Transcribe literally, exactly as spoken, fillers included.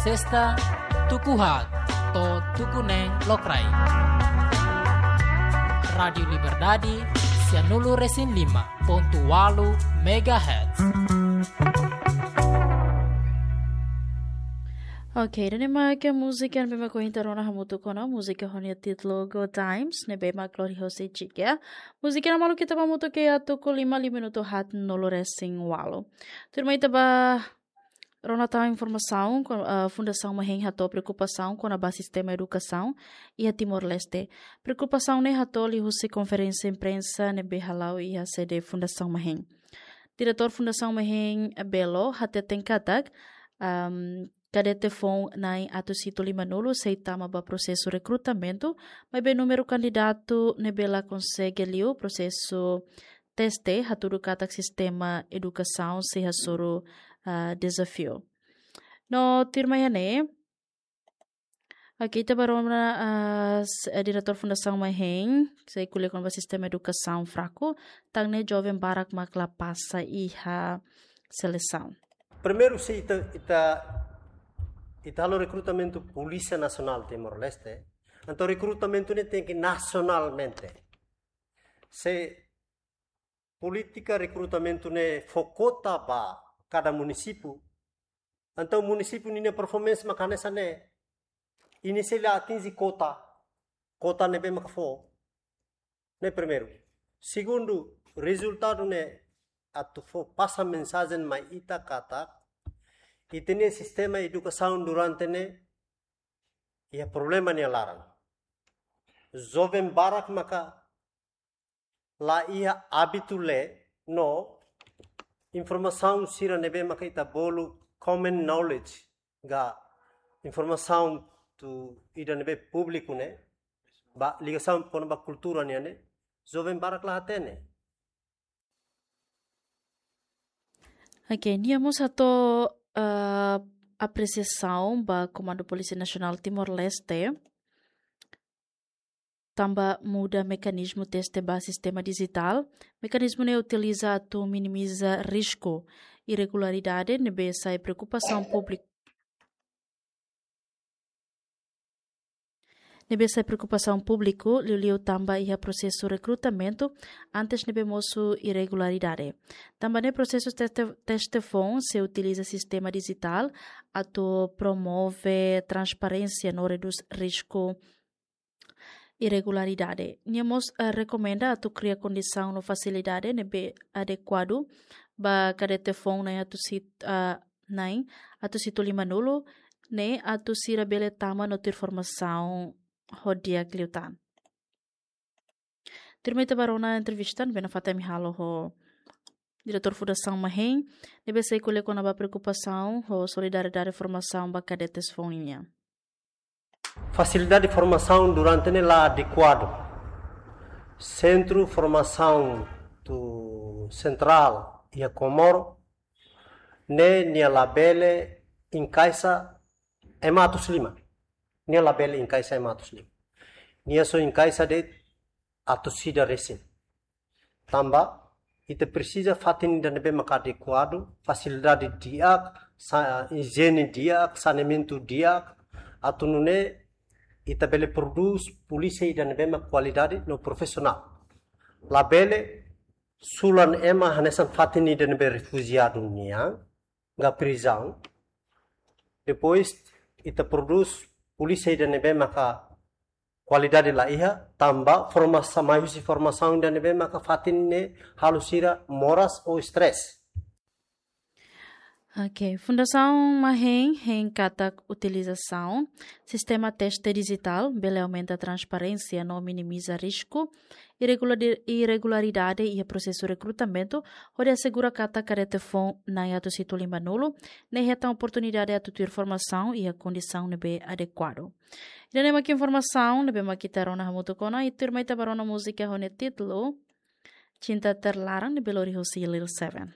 Sesta, tuku haat to'o tuku neen lokraik. Rádiu Liberdade, sia nulu resin lima pontu ualu megahertz. Ok, ida-ne'e mak múzika ne'ebé mak ohin ita rona hamutuk ona, múzika ho nia títulu Good Times, ne'ebé mak Glória José Chica. Múzika ne'e maluk ita ba hamutuk iha tuku lima, lima minutu haat nulu resin ualu. Tuirmai ita ba rona tan informasaun ko-, eh, Fundasaun Mahen hato'o preokupasaun kona-ba sistema edukasaun iha Timor-Leste. Preokupasaun ne'e hato'o liuhusi konferénsia imprensa ne'ebé hala'o iha sede Fundasaun Mahen. Diretór Fundasaun Mahen Belo hateten katak, am, kadete foun na'in atus hitu lima nulu sei tama ba prosesu rekrutamentu, maibé númeru kandidatu ne'ebé la konsege liu prosesu teste hatudu katak sistema edukasaun sei hasoru, ah, dezafiu. No tuirmai iha ne'e, ok, ita ba rona, ah, s-, eh, diretór Fundasaun Mahen, sei ko'alia kona-ba sistema edukasaun fraku, tan ne'e joven barak mak la pasa iha selesaun. Primeiru, se ita, ita, ita halo rekrutamentu Polísia Nasionál Timor-Leste, entaun rekrutamentu ne'e tenke nasionalmente. Se polítika rekrutamentu ne'e fó kota ba kada munisípiu, entaun munisípiu ninia performance mak hanesan ne'e, nia sei la atinje kota, kota ne'ebé maka fó. Ne'e primeiru. Segundu, rezultadu ne'e atu fó pasa mensajen mai ita katak ita-nia sistema edukasaun durante ne'e iha problema nia laran. Joven barak maka la iha ábitu lee no informasaun sira ne'ebé maka ita bolu common knowledge, ka informasaun ida ne'ebé públiku ne'e, ba ligasaun kona-ba kultura nian ne'e, joven barak la hatene. Ok, nia mós hato'o, ah, apresiasaun ba Komandu Polísia Nasionál Timor-Leste tanba muda mekanizmu teste ba sistema dijitál. Mekanizmu ne'e utiliza atu minimiza risku irregularidade ne'ebé sai preokupasaun públiku, ne'ebé sai preokupasaun públiku, liuliu tanba iha prosesu rekrutamentu antes ne'ebé mosu irregularidade. Tanba ne'e prosesu teste, teste foun sei utiliza sistema dijitál atu promove transparénsia no redús risku irregularidade. Nia mós, eh, rekomenda atu kria kondisaun no fasilidade ne'ebé adekuadu ba kadete foun na'in atus hit-, ah, na'in atus hitu lima nulu, ne'e atu sira bele tama no tuir formasaun ho di'ak liután. Tuirmai ita ba rona entrevista ne'ebé nafatin ami halo ho diretór Fundasaun Mahen, ne'ebé sei ko'alia kona-ba preokupasaun ho solidariedade formasaun ba kadetes foun nian. Fasilidade formasaun durante ne'e la adekuadu. Sentru formasaun tu sentrál iha Comoro ne'e nia labele enkaixa ema atus lima. Nia labele enkaixa ema atus lima. Nia só enkaixa de'it atus ida resin. Tanba ita presiza fatin ida ne'ebé maka adekuadu, fasilidade di'ak, sa-, ijiene di'ak, saneamentu di'ak, atu nune'e ita bele prodús polísia ida ne'ebé maka kualidade no profisionál. Labele sulan ema hanesan fatin ida ne'ebé refujiadu nian, ka prizaun. Depois ita prodús polísia ida ne'ebé maka kualidade la iha, tanba formasaun, mai husi formasaun ida ne'ebé maka fatin ne'e halo sira moras ou stress. Ok, Fundasaun Mahen hein katak utilizasaun sistema teste dijitál bele aumenta transparénsia no minimiza risku irreguladi-, irregularidade iha prosesu rekrutamentu, hodi asegura katak kadete foun na'in atus hitu lima nulu ne'e hetan oportunidade atu tuir formasaun iha kondisaun ne'ebé adekuadu. Ida-ne'e mak informasaun ne'ebé mak ita rona hamutuk ona, i tuirmai ita ba rona múzika ho nia títulu Cinta Terlarang ne'ebé lori husi Lil Seven.